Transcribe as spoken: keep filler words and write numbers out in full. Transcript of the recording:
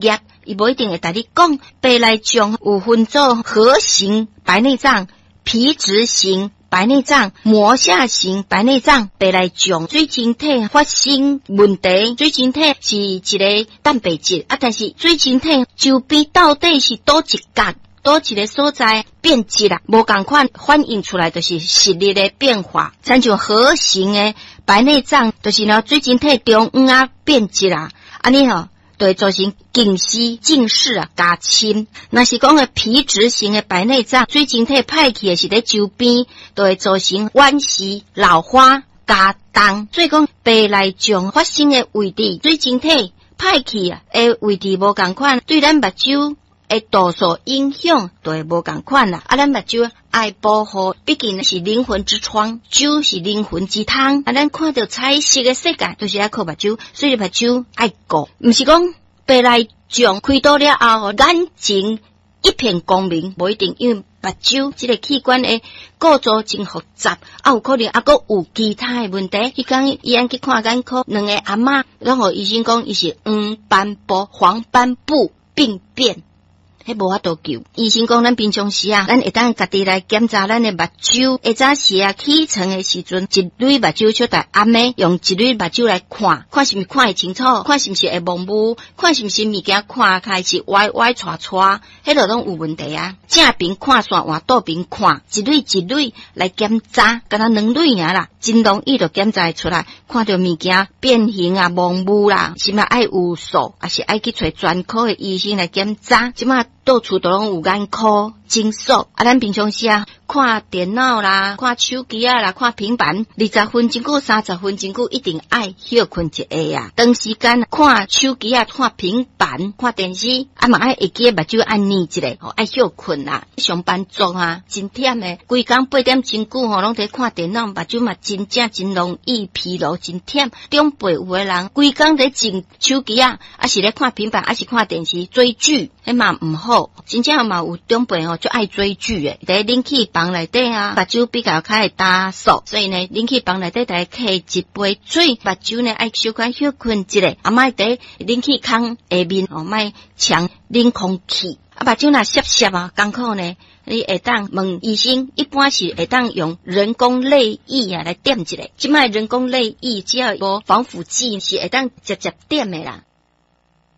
業，伊無一定會共你講。白內障有分做核型白內障、皮質型白內障、膜下型白內障。白內障水晶體發生問題，水晶體是一个蛋白質啊，但是水晶體周邊到底是佗一角，佗一个所在變質啦，無仝款反映出來就是視力的變化。親像核型的白內障，就是呢水晶體中央仔變質啦，按呢吼，就會造成近視、近視啊加深。若是講个皮質型的白內障，水晶體歹去的是佇周邊，就會造成遠視、老花加重。所以講白內障發生的位置，水晶體歹去啊的位置無仝款，對咱目睭的度數影響就會無仝款啦。啊，咱目睭愛保護，畢竟是靈魂之窗，睭是靈魂之窗。啊，咱看著彩色的世界，就是愛靠目睭，所以目睭愛顧，毋是講白內障開刀了後，眼睛一片光明，無一定，因為目睭這个器官的構造真複雜，啊，有可能猶閣有其他的問題。彼工醫院去看眼科，兩个阿嬤，攏予醫生講伊是黃斑部、黃斑部病變。彼無法度救。醫生講，咱平常時啊，咱會當家己來檢查咱的目睭。下早時啊，起床的時陣，一蕊目睭小台暗的，用一蕊目睭來看，看是毋是看會清楚，看是毋是會模糊，看是毋是物件看開是歪歪斜斜，彼个攏有問題啊。正爿看煞換倒爿看，一蕊一蕊來檢查，敢若兩蕊爾啦，真容易就檢查會出來。看著物件變形啊、模糊啦，是嘛愛有數，抑是愛去揣專科的醫生來檢查。這馬到處都攏有眼科診所，啊，咱平常時啊，看電腦啦、看手機仔啦、看平板，二十分鐘久、三十分鐘久，一定愛歇睏一下啊。長時間看手機仔、看平板、看電視，啊嘛愛會記目睭愛睨一下，吼，愛歇睏啦。上班族啊，真忝的，規工八點鐘久吼，攏佇看電腦，目睭嘛真正真容易疲勞，真忝。長輩有的人規工佇前手機仔，抑是咧看平板，抑是看電視追劇，彼嘛毋好。真正嘛有長輩吼，足愛追劇的，佇冷氣房內底啊，目睭比較較會焦燥，所以呢，冷氣房內底逐家揢一杯水，目睭呢愛小可歇睏一下，啊，莫佇冷氣空下面吼，莫搶冷空氣。啊，目睭若澀澀啊，艱苦呢，你會當問醫生，一般是會當用人工淚液啊來點一下。這擺人工淚液只要無防腐劑，是會當直接點的啦。